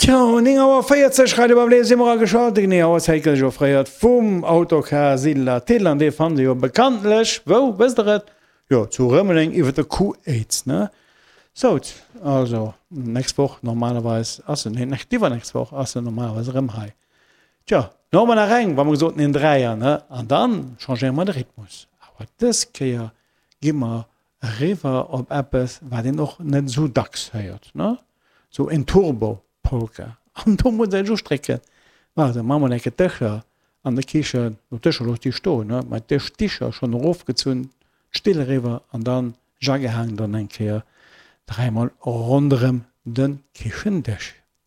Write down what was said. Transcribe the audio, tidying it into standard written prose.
Tjo, 9 Auer 40, Radio Bavlé si mer ageschalt. Déi genee Auerzäit gëtt iech offréiert vum Autocar Siedler Thill an dee fannt Dir jo bekanntlech, wou, wësst Der et? Jo, zu Rëmeleng iwwer der Kuh-Éiz, ne? Sout, also, nächst Woch normalerweis ass en, nee, iwwernächst Woch ass en normalerweis erëm hei. Tjo, lo hu mer nach eng, wa mer gesot hunn een Dräier, ne? An dann changéiere mer de Rhythmus. Awer dës Kéier gi mer eriwwer op eppes, wat een och net esou dacks héiert, ne? Sou en Turbo-Polka. An do muss een sech ustrécken. Waart, da maache mer enke d'Dëscher an der Kichen, no d'Dëscher looss déi stoen, ne? Mä d'Dëschdicher schonn erofgezunn, d'Still eriwwer an dann Jaggehaang dann eng Kéier dräimol ronderëm de Kichendësch.